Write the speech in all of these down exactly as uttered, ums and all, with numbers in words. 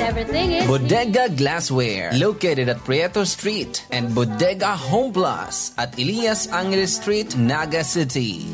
Everything is Bodega Glassware, located at Prieto Street and Bodega Home Plus at Elias Angeles Street, Naga City.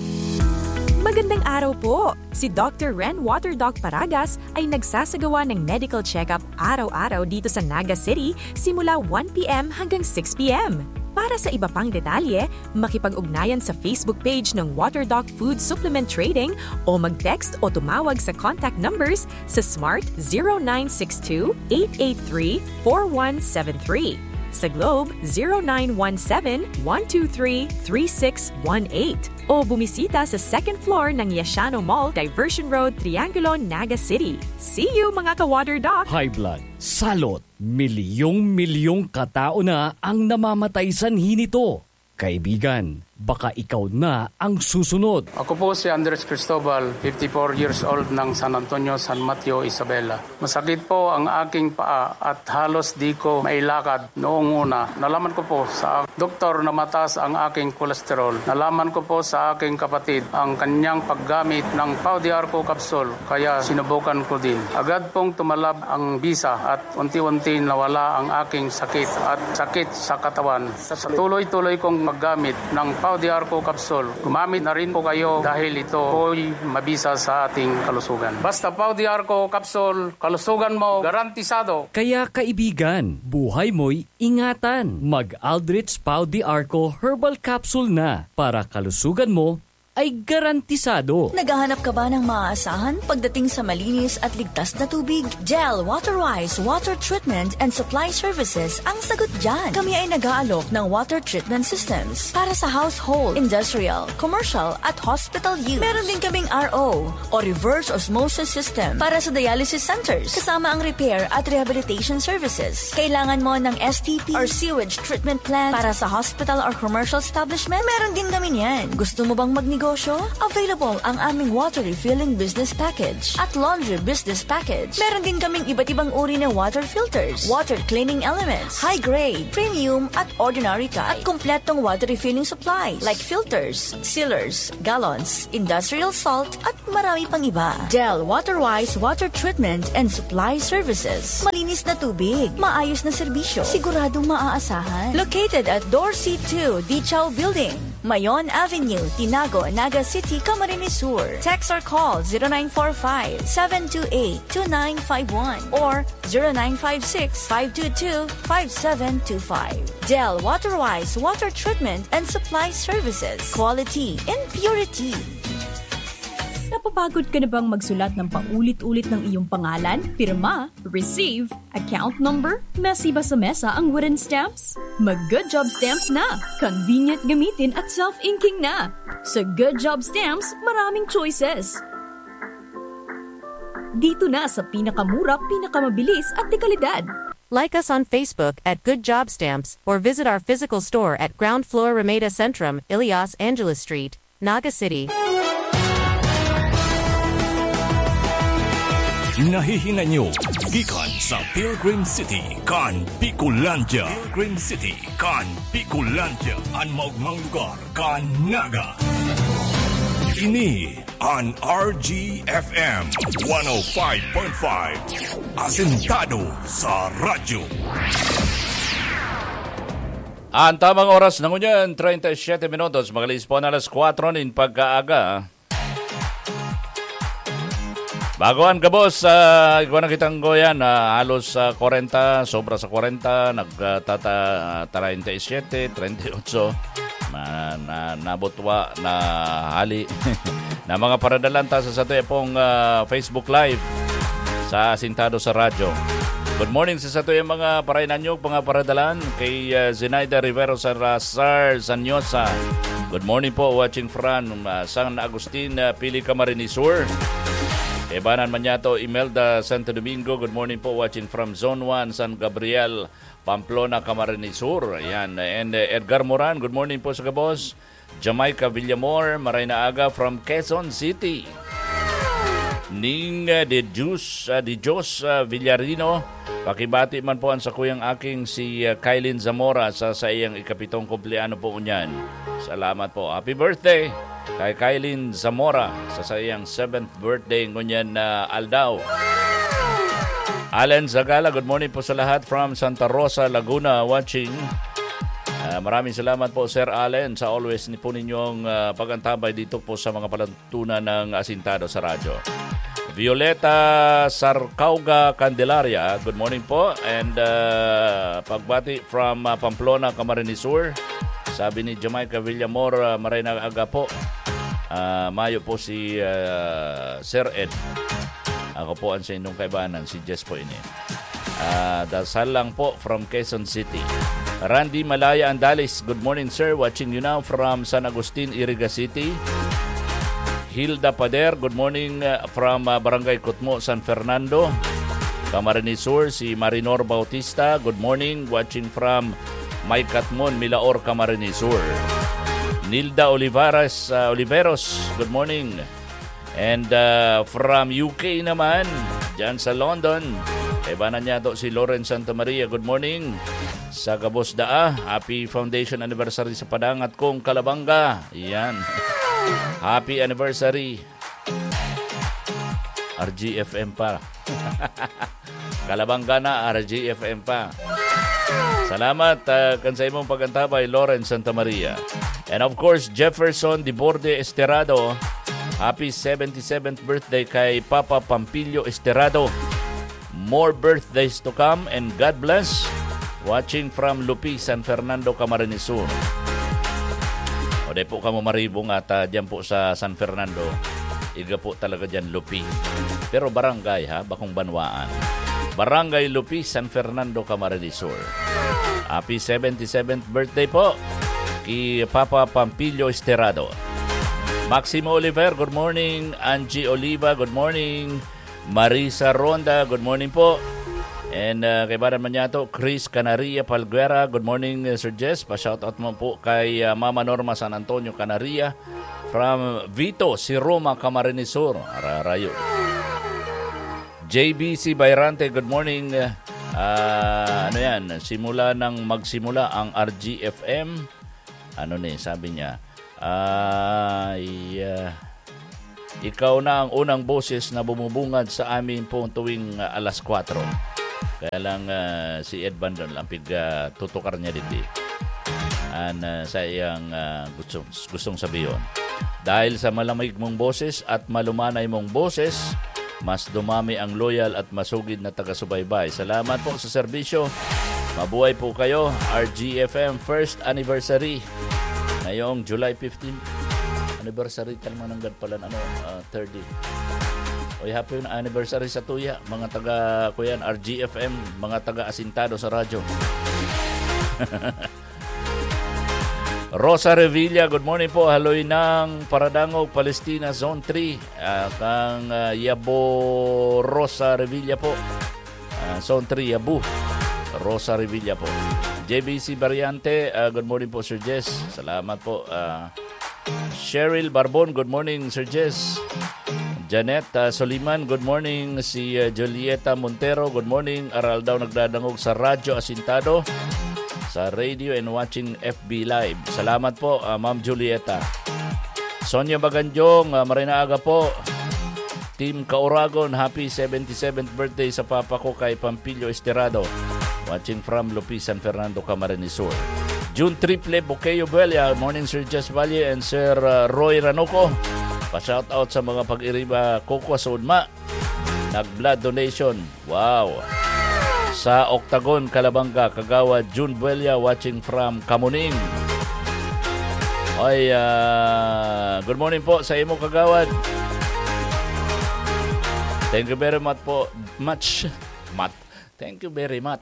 Magandang araw po! Si Doctor Ren Water Doc Paragas ay nagsasagawa ng medical check-up araw-araw dito sa Naga City simula one p m hanggang six p m. Para sa iba pang detalye, makipag-ugnayan sa Facebook page ng Water Doc Food Supplement Trading o mag-text o tumawag sa contact numbers sa Smart zero nine six two, eight eight three, four one seven three, sa Globe zero nine one seven, one two three, three six one eight, o bumisita sa second floor ng Yashano Mall, Diversion Road, Triangulo, Naga City. See you, mga ka-Water Doc! High blood, salot, milyong-milyong katao na ang namamatay sanhi nito. Kaibigan, baka ikaw na ang susunod. Ako po si Andres Cristobal, fifty-four years old, ng San Antonio, San Mateo, Isabela. Masakit po ang aking paa at halos di ko mailakad noong una. Nalaman ko po sa doktor na mataas ang aking kolesterol. Nalaman ko po sa aking kapatid ang kanyang paggamit ng Pau de Arco capsule, kaya sinubukan ko din. Agad pong tumalab ang bisa at unti-unti nawala ang aking sakit at sakit sa katawan. Sa tuloy-tuloy kong paggamit ng Pau de Arco capsule, gumamit na rin po kayo dahil ito po'y mabisa sa ating kalusugan. Basta Pau de Arco capsule, kalusugan mo garantisado. Kaya, kaibigan, buhay mo'y ingatan. Mag Aldrich Pau de Arco Herbal Capsule na para kalusugan mo ay garantisado. Naghahanap ka ba ng maaasahan pagdating sa malinis at ligtas na tubig? Del Waterwise Water Treatment and Supply Services ang sagot dyan. Kami ay nag-aalok ng water treatment systems para sa household, industrial, commercial at hospital use. Meron din kaming R O o reverse osmosis system para sa dialysis centers, kasama ang repair at rehabilitation services. Kailangan mo ng S T P or sewage treatment plant para sa hospital or commercial establishment? Meron din kami niyan. Gusto mo bang magnegosyo? Available ang aming water refilling business package at laundry business package. Meron din kaming iba't ibang uri ng water filters, water cleaning elements, high grade, premium at ordinary type, at kompletong water refilling supplies like filters, sealers, gallons, industrial salt, at marami pang iba. Del Waterwise Water Treatment and Supply Services. Malinis na tubig, maayos na serbisyo, siguradong maaasahan. Located at Dorsey two Dichaw Building, Mayon Avenue, Tinago, Naga City, Camarines Sur. Text or call zero nine four five, seven two eight, two nine five one or zero nine five six, five two two, five seven two five. Del Waterwise Water Treatment and Supply Services. Quality in purity. Napapagod ka na bang magsulat ng paulit-ulit ng iyong pangalan, pirma, receive, account number, mesiba sa mesa ang wooden stamps? Mag Good Job Stamps na! Convenient gamitin at self-inking na! Sa Good Job Stamps, maraming choices. Dito na sa pinakamura, pinakamabilis at dekalidad. Like us on Facebook at Good Job Stamps or visit our physical store at ground floor Ramada Centrum, Elias Angeles Street, Naga City. Nahihingan nyo gikan sa Pilgrim City kan Bicolandia. Pilgrim City kan Bicolandia, an maogmang lugar kan Naga. Ini an R G F M one oh five point five, asentado sa radyo. Ang tamang oras na ngunyan, treinta y siete minutos, makalihis po na alas kuwatro nin pagkaaga. Bago an gabos, ah, igwa na kitang goyan, ah, halos, ah, kwarenta, sobra sa kwarenta, nag, ah, tata-, treinta y siete, treinta y ocho, na, na, nabutwa, na hali, na mga paradalan ta sa satuya pong, ah, Facebook Live sa Asintado sa Radyo. Good morning sa satuya mga parainanyog, mga paradalan, kay, ah, Zenaida Rivero Salazar Sanyosa. Good morning po, watching from, ah, San Agustin, ah, Pili, Camarines Sur. Ebanan man yato, Imelda Santo Domingo. Good morning po, watching from Zone one, San Gabriel, Pamplona, Camarines Sur. Ayan. And, eh, Edgar Moran, good morning po sa gabos. Jamaica Villamor, maray na aga from Quezon City. Ning, eh, de Diyos, ah, de Diyos, ah, Villarino, pakibati man po an sakuyang aking si, ah, Kylin Zamora sa saiyang ikapitong kumpleano po ngunyan. Salamat po. Happy birthday kay Kylin Zamora sa saiyang seventh birthday ngunyan na aldaw. Allen Zagala, good morning po sa lahat from Santa Rosa, Laguna, watching. Ah, maraming salamat po, Sir Allen, sa always ni po ninyong, ah, pag-antabay dito po sa mga palatuntunan ng Asintado sa Radyo. Violeta Sarcauga Candelaria, good morning po. And, ah, pagbati from, ah, Pamplona, Camarines Sur. Sabi ni Jamaica Villamor, ah, "Maray na aga po." Ah, mayo po si, ah, Sir Ed. Ako po ang sa inyong kaibanan, si Jess po ini. Ah, dasal lang po from Quezon City. Randy Malaya Andalis, good morning, sir. Watching you now from San Agustin, Iriga City. Hilda Pader, good morning, ah, from, ah, Barangay Kutmo, San Fernando, Camarines Sur. Si Marinor Bautista, good morning. Watching from May Katmon, Milaor, Camarines Sur. Nilda Olivares, ah, Oliveros, good morning. And, ah, from U K naman, dyan sa London, kaibanan niya to si Lauren Santa Maria. Good morning. Sa gabos daa, happy foundation anniversary sa padangat kong Kalabanga. Yan. Happy anniversary. R G F M pa. Kalabanga na, R G F M pa. Salamat, ah, kan sa imong pag-antabay, Lauren Santa Maria. And of course, Jefferson Diborde Esterado. Happy seventy-seventh birthday kay Papa Pampilio Esterado. More birthdays to come and God bless. Watching from Lupi, San Fernando, Camarines Sur. O, di po kamo maribong at, ah, dyan po sa San Fernando. Iga po talaga dyan, Lupi. Pero barangay, ha? Bakong banwaan. Barangay Lupi, San Fernando, Camarines Sur. Happy seventy-seventh birthday po ki Papa Pampilio Esterado. Maximo Oliver, good morning. Angie Oliva, good morning. Marisa Ronda, good morning po. And, ah, kaibanan man niya to, Chris Canaria Palguera, good morning, uh, Sir Jess. Pa-shoutout mo po kay, ah, Mama Norma San Antonio Canaria from Vito, si Roma, Camarines Sur. Ararayo. J B C Bayrante, good morning. Ah, ano yan? Simula nang magsimula ang R G F M. Ano ni, sabi niya, ay, ah, "Ikaw na ang unang boses na bumubungad sa amin po tuwing, ah, alas kwatro." Kaya lang, ah, si Ed Bandon lang pig, ah, tutukar niya digdi. An, ah, sa iyang, ah, gusto, gustong sabihon. Dahil sa malamig mong boses at malumanay mong boses, mas dumami ang loyal at masugid na taga-subaybay. Salamat po sa serbisyo. Mabuhay po kayo, R G F M first anniversary. Ngayong July fifteen, anniversary ta man nanggad pala, ano, ah, thirty. Oy, happy anniversary sa tuya, mga taga, kuyan, R G F M, mga taga-asintado sa radyo. Rosa Revilla, good morning po. Haloy ng Paradangog, Palestina, Zone three. Ah, kang, ah, Yabo Rosa Revilla po. Ah, Zone three, Yabo. Rosa Revilla po. J B C Variante, ah, good morning po, Sir Jess. Salamat po. Ah, Cheryl Barbon, good morning, Sir Jess. Janet, ah, Soliman, good morning. Si, ah, Julieta Montero, good morning. Aral daw nagdadangog sa Radyo Asintado, sa radio and watching F B Live. Salamat po, ah, Ma'am Julieta. Sonia Baganjong, ah, maray na aga po. Team Kauragon, happy seventy-seventh birthday sa papa ko kay Pampilio Esterado. Watching from Lupi, San Fernando, Camarines Sur. June Triple Buqueo Buelia, morning Sir Jess Valle and Sir, uh, Roy Ranoco. Pa-shoutout sa mga pag-iriba kukwa sa Udma. Nag-blood donation. Wow. Sa Octagon, Calabanga, Kagawad June Buelia, watching from Kamuning. Oy, ah, good morning po sa imo, Kagawad. Thank you very much po. Much. Mat. Thank you very much.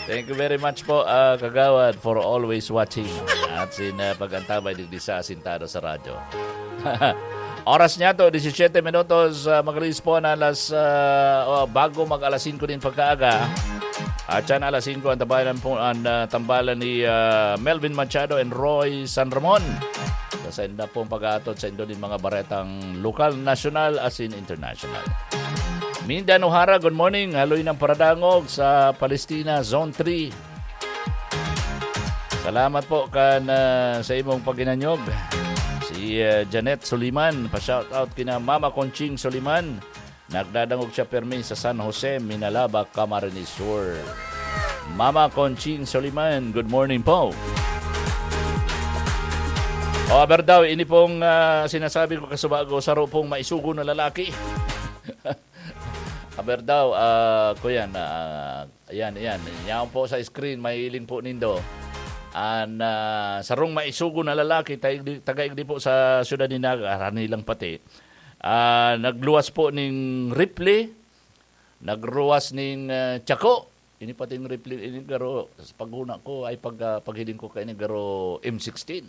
Thank you very much po, ah, Kagawad, for always watching. At sin, ah, pag-antabay digdi sa Asintado sa Radyo. Oras niya to, disisyete minutos, ah, mag-alas po na alas, ah, oh, bago mag-alas singko din pagkaaga. At yan, alas singko ang tambalan po, ang, ah, tambalan ni, ah, Melvin Machado and Roy San Ramon. Sa sainda pong pag-aatod sa indo din mga baretang lokal, nasyonal, asin international. Mindan O'Hara, good morning. Haloy ng Paradangog sa Palestina, Zone three. Salamat po kan, ah, sa imong paghinanyog. Si, ah, Janet Soliman, pa-shoutout kina Mama Conching Soliman, Nagdadangog siya permi sa San Jose, Minalaba, Camarines Sur. Mama Conching Soliman, good morning po. O, aber daw, ini pong, ah, sinasabi ko kasubago, saro pong maisugo na lalaki. Aber daw, ah, kuyan, ah, ayan, ayan. Yaon po sa screen, mahiling po nindo. An, ah, sarong maisugo na lalaki, taig-, taga-igdi po sa siyudad ni Naga, harani lang pati. Ah, nagluwas po ning rifle, nagluwas ning, ah, tsako. Ini pating rifle, ini garo, sa paghuna ko, ay pag, ah, paghiling ko kaini garo M sixteen.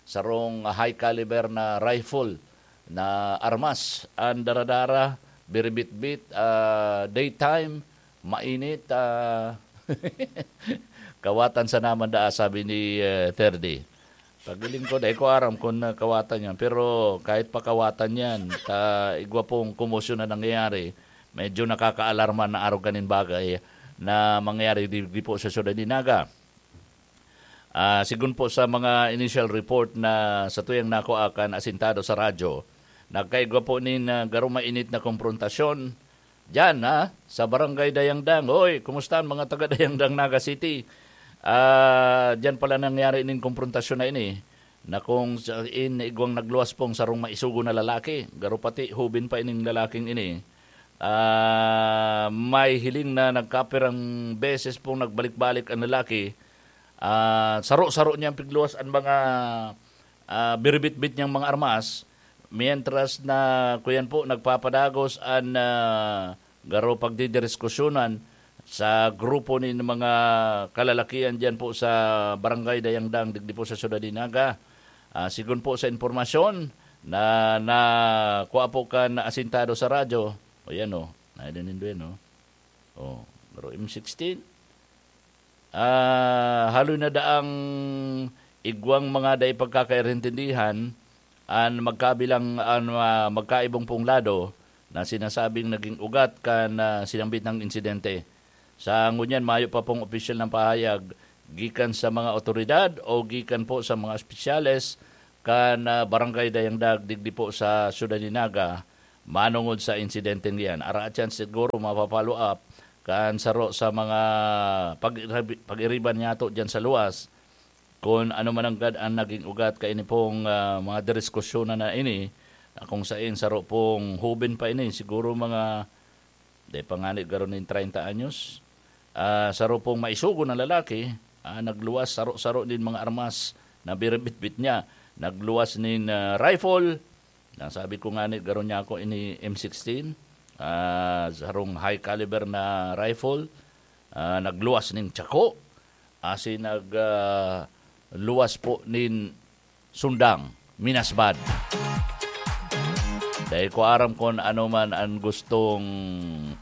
Sarong high caliber na rifle na armas. An daradara, biribitbit, ah, daytime, mainit, ah, kawatan sana man daa, sabi ni, eh, Terdy. Paghiling ko, dai ko aram kun, ah, kawatan yan. Pero kahit pa kawatan yan, ta, igwa pong komosyon na nangyayari, medyo nakakaalarma na arog kaning bagay na mangyayari di, di po sa siyudad ni Naga. Ah, sigon po sa mga initial report na satuyang nakua kan asintado sa radyo, nagkaigwa po nin, ah, garo mainit na komprontasyon diyan, ha, sa Barangay Dayangdang. Hoy, kumusta ang mga taga Dayangdang, Naga City? Ah, diyan pala nangyari nin komprontasyon na ini, na kung sa, in, igwang nagluwas pong sarong maisugo na lalaki. Garo pati, hubin pa ining lalaking ini. Ah, may hiling na nagkapirang beses pong nagbalik-balik ang lalaki. Ah, saro-saro niyang pigluwas ang mga, ah, biribitbit niyang mga armas, mientras na, kuyan po, nagpapadagos an, ah, garo pagdidiskusyonan sa grupo nin mga kalalakian diyan po sa Barangay Dayangdang, digdi po sa Siyudad ni Naga. Ah, sigon po sa impormasyon na, na kua po kan asintado sa radyo, o yan o, nailan nindo yan o. O, pero M sixteen, ah, haloy na daang igwang mga dai pagkakairintindihan an magkabilang, an, ah, magkaibong pong lado na sinasabing naging ugat kan, ah, sinambit na insidente. Sa ngunyan, mayo pa pong opisyal na pahayag gikan sa mga awtoridad o gikan po sa mga espesyales kan, ah, Barangay Dayangdag digdi po sa Siyudad ni Naga manongod sa insidenteng iyan. Araat yan siguro mapa-follow up kan saro sa mga pag-irabi-, pag-iriban niyato diyan sa luwas, kun ano man nanggad an naging ugat kaini pong, ah, mga didiskusyonan na ini, na kung sain saro pong hubin pa ini, siguro mga, dai pa ngani garo nin treinta anyos. Ah, saro pong maisugo na lalaki, ah, nagluwas, saro-saro nin mga armas na biribitbit niya. Nagluwas nin, ah, rifle, nasabi ko ngani, garo niya ako ini M sixteen, ah, sarong high caliber na rifle, ah, nagluwas nin tsako, asin nag, ah, luwas po nin sundang, minasbad. Dai ko aram kun ano man an gustong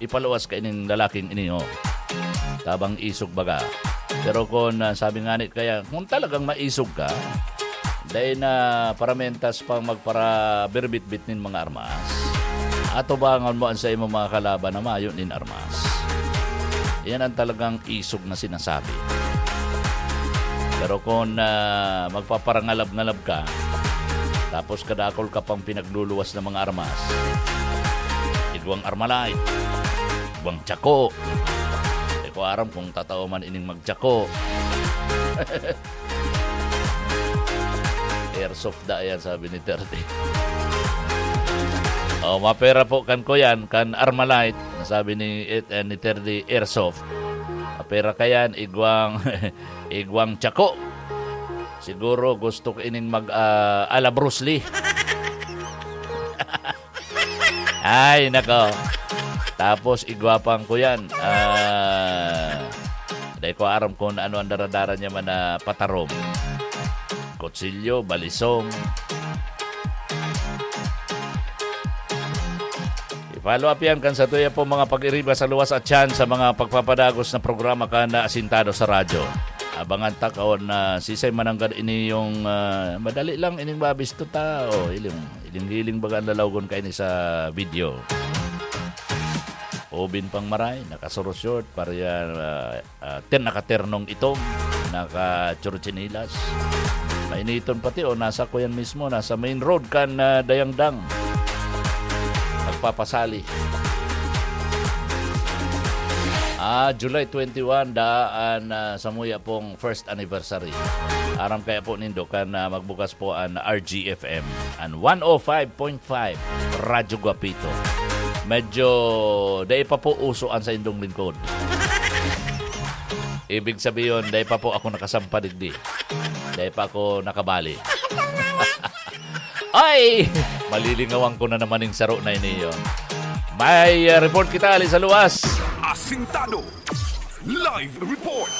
ipaluwas kaining lalaking ini, oh. Tabang isog baga. Pero kun, ah, sabi ngani kaya, kung talagang maisog ka, dai na paramentas pang magparabirbitbit nin mga armas. Atubangan mo an saimong mga kalaban na mayo nin armas. Yan ang talagang isog na sinasabi. Pero kung, ah, magpaparangalab-ngalab ka, tapos kadakol ka pang pinagluluwas ng mga armas, igwang Armalite, igwang tsako. Di ko aram kung tatao man ining magtsako. Airsoft da yan, sabi ni Terdy. Oh, mapera po kan kuyan, kan Armalite, nasabi ni, eh, ni Terdy, airsoft. Mapera ka yan, igwang, igwang tsako. Siguro gusto ko ining mag, ah, ala Bruce Lee. Ay, nako. Tapos, igwapang ko yan. Ah, dai ko aram kung ano ang daradara niya man na patarom. Kutsilyo, balisong. I-follow up yan kan sa tuya po mga pag-iriba sa luwas at tiyan sa mga pagpapadagos na programa ka na asintado sa radyo. Abangan ta kaon na sisay mananggad ini yung, ah, madali lang ining mabisto ta. O, iling, iling-iling baga ang lalawgon kaini sa video. Obin pang maray, nakasuro short, pareha, ah, ah, ten nakaternong itom, naka-churchinilas. Mainiton pati, o, nasa kuyan mismo, nasa main road kan, ah, Dayangdang. Nagpapasali. Ah, July twenty-one, daan, ah, samuya pong first anniversary. Aram kaya po nindo kan, ah, magbukas po an R G F M, an one oh five point five Radyo Guapito. Medyo dai pa po uso an saindong lingkod. Ibig sabihin, dai pa po ako nakasampa digdi. Dai pa ako nakabali. Ay! Malilingawan ko na naman yung saro na ini yun. May, ah, report kita, ali sa luwas. Asintado. Live report.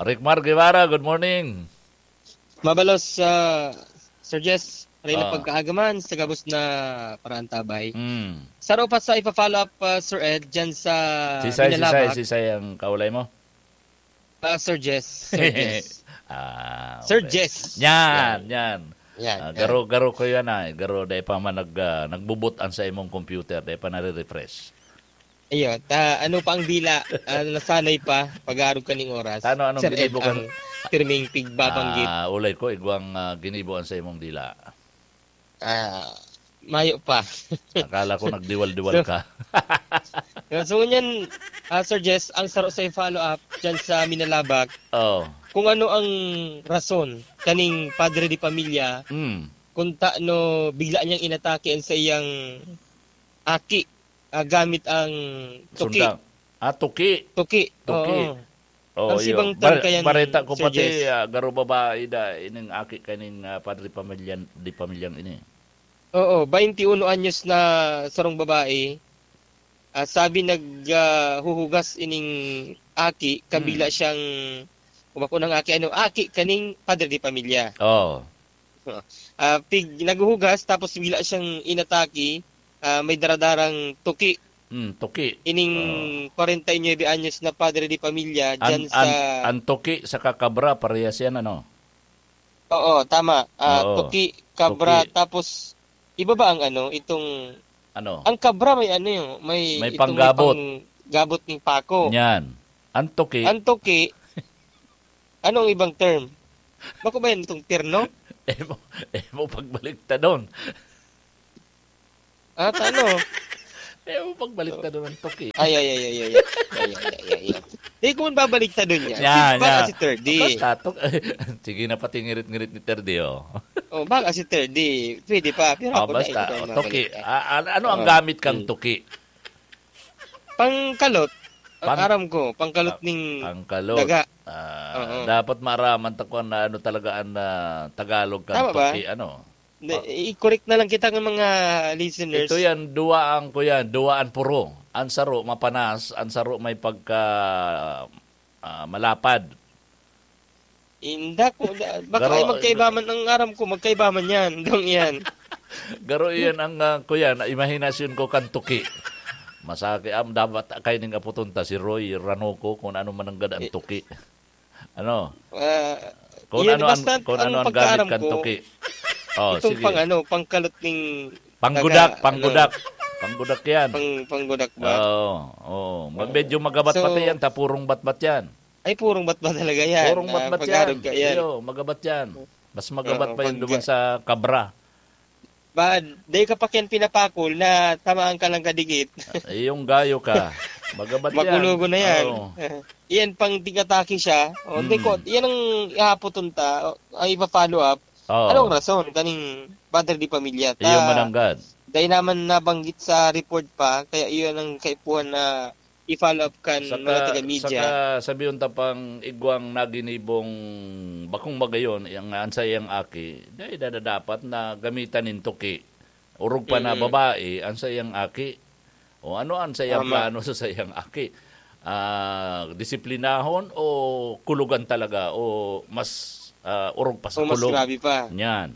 Rickmar Guevara, good morning. Mabalos, ah, Sir Jess, rin na Ah. pagkaagaman sa gabos na paraantabay. Mm. Saro pa sa ipa-follow up, ah, Sir Ed, dyan sa Sisay, sisay, Binalabak. sisay ang kaulay mo? Ah, Sir Jess, Sir Jess. Ah, Sir okay. Jess. Yan, Yan. yan. Yan, Ah, yan. garo, garo ko yan ay. Garo, dai pa man nag, ah, nagbubot an sa imong computer, dai pa nare-refresh. Iyo, ta, ano pa ang dila? Ah, nasanay pa, pag-aarog kaning oras. Tano, anong Sir Ed ginibo kan ang pirming tigbabanggit. Ah, ulay ko, igwang, ah, ginibo an sa imong dila. Ah, mayo pa. Akala ko nagdiwal-diwal So, ka. yun, so ngunyan, ah, Sir Jess, ang saro sa follow-up dyan sa Minalabak, Oh. kung ano ang rason kaning padre de pamilya, Mm. kung taano bigla niyang inatake ang sa iyang aki, ah, gamit ang tuki. Sundang. Ah, tuki. Tuki, Tuki. oo. Oh, Ang iyo. sibang term Ba-, kaya ni bareta ko Sir pati, Jess. ah, garo babae da, ining aki kaning, ah, padre pamilyan, di pamilyang ini. Oo, bainti uno anyos na sarong babae. Ah, sabi nag, ah, huhugas ining aki, kabila Hmm. siyang, o bako ng aki, ano, aki kaning padre de pamilya. Oo. Ah, pig-, naghuhugas, tapos bila siyang inatake, ah, may daradarang tuki. Hmm, tuki. Ining Oo. kwarenta y nuebe anyos na padre de pamilya An, dyan an, sa an tuki saka kabra, parehas yan, ano? Oo, tama. Ah, Oo. tuki, kabra, Tuki. tapos iba ba ang ano, itong Ano? ang kabra may ano yun, may May itong may panggabot. panggabot ng pako. Yan. An tuki. An tuki, anong ibang term? Bako ba yan itong terno? Emo, emo pagbaliktadon. Ah, tano? Emo pagbaliktadon ang tuki. Ay, ay, ay, ay, ay, ay. Ay, ay, ay, ay, ay. Di ko man babaliktadon yan. Yan, Baka yan. si Terdi. Basta, tuk-, sige na, pati ngirit-ngirit ni Terdi, oh. Oh, baka si Terdi. Pwede pa, pero Ah, ako na, basta, hindi ko oh, tuki. mabalik, eh. Ah, an-, ano ang Oo. gamit kang Hmm. tuki? Pangkalot. Ang Pang-, aram ko, pangkalot pa-, ning pangkalot. daga. Ah, Oo. dapat maaraman ta kung ano talaga ang, ah, Tagalog kan Tama ba? tuki, ano? Hindi, Pa- i-correct na lang kita ng mga listeners. Ito yan, duwaan ko yan, duwaan puro. Ang saro, mapanas, ang saro may pagka, ah, malapad. Inda ko, da-, baka Garo-, ay magkaiba man, ang aram ko, magkaiba man yan, dong yan. Garo yan ang, ah, kuya, na imahinasyon ko kan tuki. Masakit, am, dapat kayo ning aputon ta, si Roy Ranoco, kung ano man ang gad ang Eh. tuki. Ano? Ah, Kung yan, ano ang, basta kung ang ano ang gamit pagkaaram kan ko, tuki. Oh, itong sige. pang ano, pangkalot ning Panggudak, taga, panggudak. ano, Panggudak yan. pang-, panggudak ba? Oo, oo. Ma-, Oo. medyo magabat So, pati yan, ta purong batbat yan. Ay, purong batbat talaga yan. Purong Ah, batbat pag-arog yan. ka yan. Iyo, magabat yan. Mas magabat Oo, pa yun pag- duman sa kabra. Ba, dai ka pa kiyan pinapakol na tamaan ka lang kadikit. Ah, iyong gayo ka. Magabat yan. Makulogo na yan. Oo. Iyan pang tig-atake siya. O, Hmm. di ko, yan ang ihapoton ta, o, ang ipa-follow up. Oo. Anong rason kaning padre de pamilya ta? Iyo mananggad. Dai naman nabanggit sa report pa, kaya iyon ang kaipuhan na i-follow up kan Saka, mga taga-media. saka sabihon ta pang igwang naginibong bakong magayon, yang, an saiyang aki, dai na dapat na gamitan nin tuki. Orog pa na Mm. babae, an saiyang aki. O ano an saiyang Tama. plano sa saiyang aki? Ah, disiplinahon o kulugan talaga o mas, ah, orog pa sa O mas kulog? grabe pa. Yan.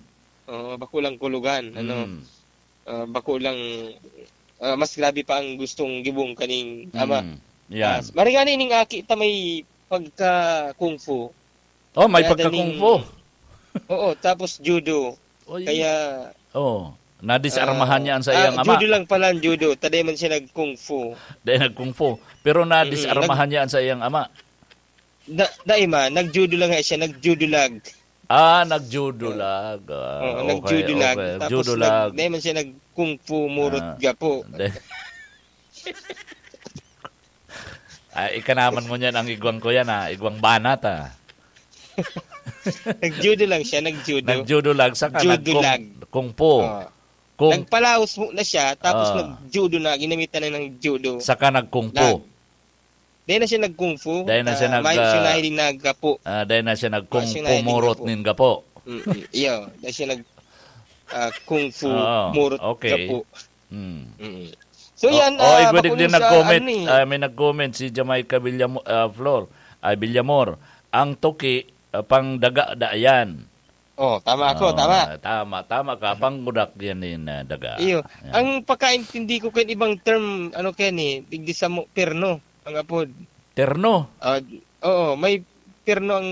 Oo, bako lang kulugan, ano? Mm. Ah, bako lang, ah, mas grabe pa ang gustong gibong kaning ama. Mm. Yan. Ah, maring ani ning aki ta may pagka kung fu. Oh, may Kaya pagka daning kung fu. Oo, tapos judo. Oy. Kaya, Oh, nadisarmahan ah, niya ang sa ah, iyang ama. judo lang pala ang judo. Ta dai man siya nag-kung fu. Dai nag-kung fu. Pero Mm, nadisarmahan nag- niya ang sa iyang ama. Da-, dai man, nag-judo lang nga siya, nag-judo lag. Ah, nag-judo Oo. lag. Ah, Oo, okay, nag-judo lag. okay. Tapos Judo nag-, lag. dai man siya nag-kung fu, murot Ah, gapo. dai. Ah, ika naman ngunyan ang igwang ko yan, ah. Igwang banat, ah. Nag-judo lang siya, nag-judo. Nag-judo lang, saka Judo nag-kung, lang. kung fu. Oo. Kung Nagpalaos muna siya, tapos Oo. nag-judo na, ginamitan na ng judo. Saka nag-kung fu. Lang. Dahil na siya nag-kung fu, Dahil na siya ah, nag, may ah, siya nahiling na gapo. Ah, dahil na siya nag-kung May siya fu, nahiling murot gapo. nin gapo. Mm-mm. Iyo, dahil siya nag, ah, kung fu, Oo, murot okay. gapo. Hmm. Mm. So, Oh, yan, oh, ah, igwa digdi bakong sa nag-comment. ano eh. Ah, may nag-comment si Jamaica Villamo-, ah, Flor, ay, Villamor. Ang tuki, ah, pang daga da yan. Oh, tama ako, Oh, tama. tama, tama ka. Pang gudak yan in, ah, daga. Iyo. Yan. Ang pagkaintindi ko kan ibang term, ano, Ken, eh, digdi sa mo, perno, ang apod. Terno? Ah, oo, may perno ang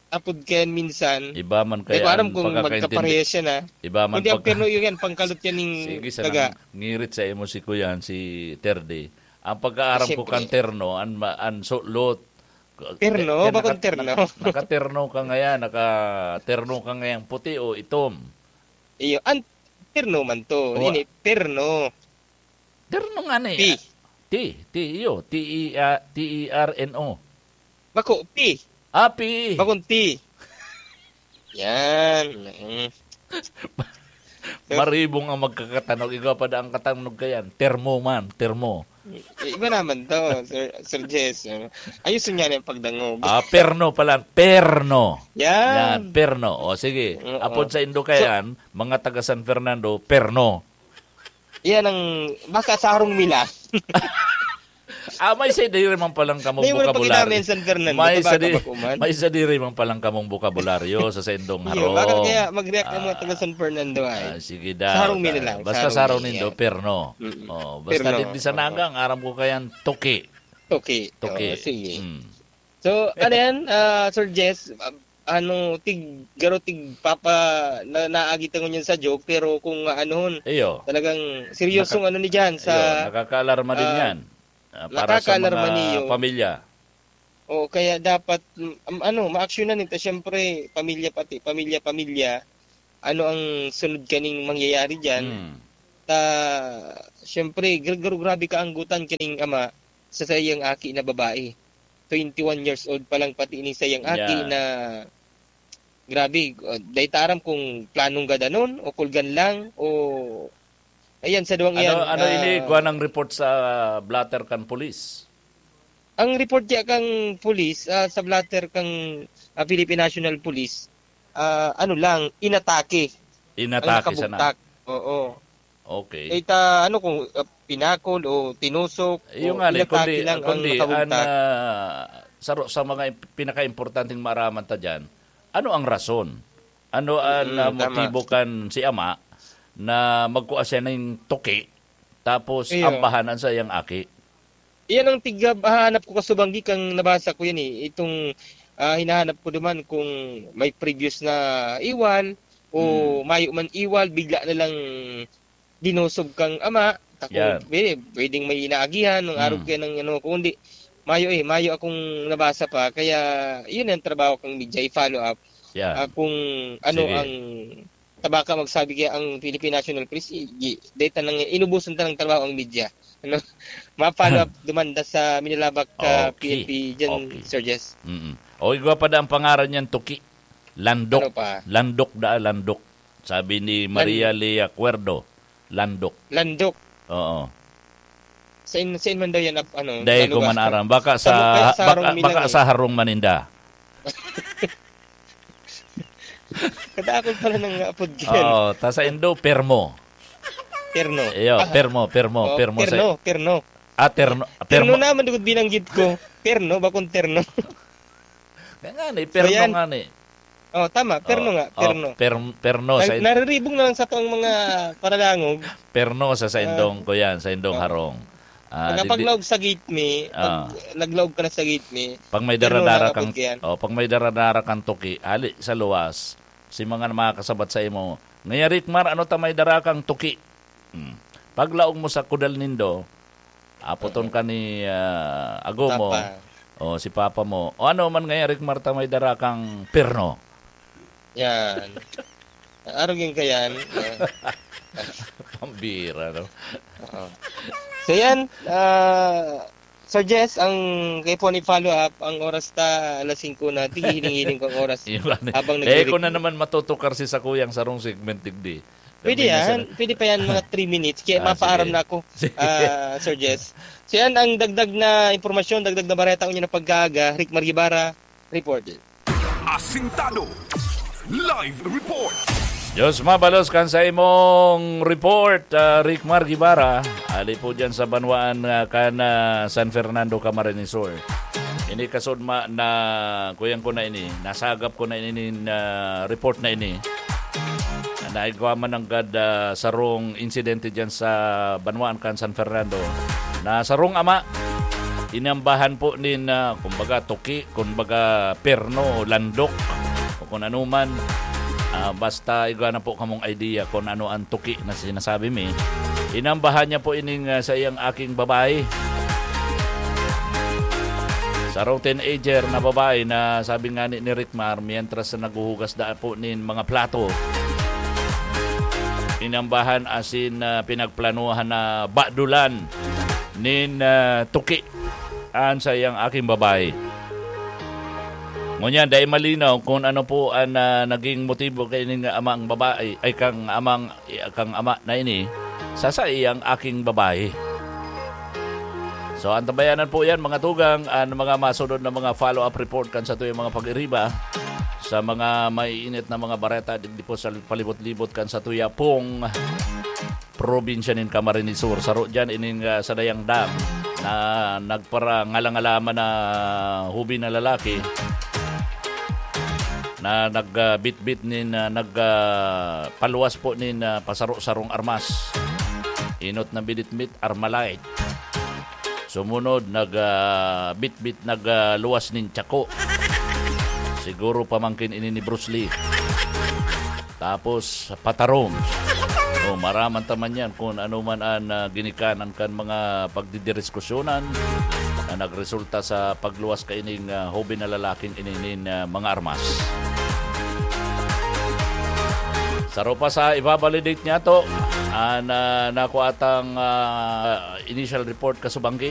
apod kayan minsan. Iba man Di kaya ko alam ang kung pagkakaintindi. magkaparehas yan, ah. Iba man Kundi ang pagka- perno yun yan, pangkalot yan ning Sige, sa daga. nang ngirit sa imo si Kuyan, si Terdi. Ang pagkaaram ko Siyempre. kan terno, an ma-, an sulot. Perno? Kaya Bakong naka-, terno? naka-, nakaterno ka ngayon, nakaterno ka ngayon, puti o itom? Iyo, an terno man to. O, Ini, perno. Terno nga ni. P. T, T, iyo. T E, ah, T E R N O. Bako, P. Ah, P. Bakong T. Yan. Mm. Maribong ang magkakatanog. Igwa pa da ang katanog kayan. Termo man, termo. I-, iba naman to, Sir, Sir Jess. Ayusin niya na yung pagdangog. Ah, perno pala. Perno. Yan. Yan, perno. O, sige. Oo. Apod sa Indo So kayan, mga taga San Fernando, perno. Yan ang, baka sa harong nila. Ah, may sadiri man palang kamong May mga bokabularyo. pakinamin, San Fernando, May tabaka sadi-, ba ko man? may sadiri man palang kamong bokabularyo sa saindong Iyo, harong. baka kaya mag-react ang mga Ah, taga San Fernando ay. ah, sige Sa daw, harong ta-, nila, basta sa sa harong harong nindo, niya. perno. Mm-mm. Oh, basta Perno, digdi sa oo. Naga, ang aram ko kayan, tuki. Tuki. Tuki. Oo, sige. Mm. So, ano yan, ah, Sir Jess, ah, ano, tig, garo tig papa, na, naagi ta ngunyan sa joke, pero kung aanuhon, Iyo. talagang seryosong Naka-, ano ni dyan sa, iyo, nakakaalarma din ah, yan. Ah, para sa nakakaalarma mga niyo. pamilya. Oo, kaya dapat, mm, am-, ano, maaksyonan ito. Siyempre, pamilya pati, pamilya-pamilya, ano ang sunod kaning mangyayari dyan? Hmm. Ta, siyempre, gra-, gra-, grabe kaanggutan kaning ama sa saiyang aki na babae. Twenty-one years old pa lang pati ini saiyang aki Yeah. na, grabe, uh, dai ta aram kung planong gadanon o kulgan lang o, ayan, sa duwang Ano, iyan, ano ini, ah, kuha ng report sa blotter kan pulis? Ang report niya kang pulis, ah, sa blotter kang, ah, Philippine National Police, ah, ano lang, inatake. Inatake Ang sana. nakabugtak. Oo. Okay. Kahit, ah, ano, kung, ah, pinakol o tinusok Yung o nga ni, inatake kundi, lang ang kundi, nakabugtak. an, ah, sa ro-, sa mga imp-, pinakaimportanteng maaraman ta diyan, ano ang rason? Ano ang, Mm, ah, tama. motibo kan si ama na magkua siya ning tuki, tapos Iyo. ambahan an saiyang aki? Iyan ang tigab-, hahanap ko kasubanggi kang nabasa ko yan eh. Itong, ah, hinahanap ko duman kung may previous na iwal o Hmm. mayo man iwal, bigla na lang dinosog kang ama. Tako, Yan. pwede, pwedeng may inaagihan ng Hmm. arog kaya ng ano, kung hindi, mayo eh, mayo akong nabasa pa. Kaya, yun ang trabaho kang media, i-follow up. Yan. Ah, kung ano Sige. ang tabaka magsabi kaya ang Philippine National Police, i-, i-, dahil tanang, inubusan tanang trabaho ang media. Ano? Ma-follow up, dumanda sa Minalabak, ah, Okay. P N P dyan, Okay. Sir Jess. Mm-mm. O, igwa pa da ang pangaran niyan, Tuki. Landok. Ano pa? Landok da, Landok. Sabi ni Maria Lan- Lea Cuerdo, Landok. Landok. Oo. Saan, saan man daw yan, ap-, ano, Dahil ko nalugar? man aram. Baka sa, Sa Mukay, sa baka, Harong baka Milang eh. sa Harong Maninda. Kadakol pala ng apod yan. Oo, ta sa Indo, permo. Perno. Iyo, Ah. permo, permo, Oh, permo sa perno, perno. Ah, terno, Perno permo. naman, dugod binanggit ko. Perno, bakong terno. Kaya nga ni, So, perno yan. nga ni. Oh, tama, perno Oh, nga, oh, perno. per-, perno Nar-, sa in- nariribong na lang sa tong mga paralangog. Perno sa, sa Ah. indong ko yan, sa indong Oh. harong. Ah, Pagka di, di, paglaog sa gate me, pag Ah. naglaog ka na sa gate me, Pag may perno daradara na kang, kapag yan. oh, pag may daradara kang tuki, hali sa luwas, si mga makakasabat sa imo, "Ngaya, Rickmar, ano ta may dara kang tuki?" Hmm. Paglaog mo sa kudal nindo, aputon Oo. ka ni, ah, ago mo, Papa. o si papa mo, "O ano man ngaya, Rickmar, ta may dara kang perno?" Yan. Arog yun ka yan. Yan. Pambira, no? Oo. So yan, ah, Sir Jess, ang kaipuhan i-follow up, ang oras ta alas singko na, tighihiling-hiling ko ang oras. Iba na. Habang Eh, nagre-review. Kung na naman matutukar si Sakuyang sarong segment, digdi. Pwede Sabi na yan. Sila. Pwede pa yan, mga three minutes. Kaya Ah, mapaaram sige. na ako, Sige. ah, Sir Jess. So yan ang dagdag na impormasyon, dagdag na bareta ko niya na pagkaaga. Rick Margibara, reported. Asintado. Live report. Diyos mabalos kan sa imong report, ah, Rick Mar Guevara. Ali po dyan sa banwaan, ah, kan, ah, San Fernando, Camarines Sur. Ini kasudma na, kuyang ko na ini, nasagap ko na ini, ah, report na ini. Naigwa man nanggad, ah, sarong insidente dyan sa banwaan kan San Fernando na sarong ama, inambahan po nin, ah, kumbaga, tuki, kumbaga, perno, landok, o kung ano man. Ah, basta igwa na po kamong idea kung ano ang tuki na sinasabi mi. Inambahan niya po ining, ah, sa iyang aking babae. Sarong teenager na babae na sabi nga ni, ni Rick Mar, mientras na naghuhugas da po nin mga plato, inambahan asin, ah, pinagplanuhan na badulan nin, ah, tuki an sa iyang aking babae. Ngunyan, dai malinaw kung ano po an, ah, naging motibo kaining amang babae, ay, kang amang, kang ama na ini, sa saiyang aking babae. So, antabayanan po yan, mga tugang, an mga masunod na mga follow-up report kan satuyang mga pag-iriba sa mga maiinit na mga bareta digdi po sa palibot-libot kan satuya pong probinsya nin Camarines Sur. Saro dyan ining, ah, sadayang dam na nagparangala-ngalaman na hubi na lalaki na nagbitbit nin, ah, nag, ah, paluwas po nin, ah, pasaro-sarong armas. Inot na binitbit, Armalite. Sumunod, nag, ah, bitbit, nag, ah, luwas nin tsako. Siguro pamangkin ini ni Bruce Lee. Tapos, patarong. O, maraman ta man yan kung ano man an, ah, ginikanan kan mga pagdidiriskusyonan na nagresulta sa pagluwas kaining, ah, hoben na lalaking ini nin, ah, mga armas. Saro pa sa ibabalidate niya to, an, ah, nakuha tang, ah, initial report kasubanggi.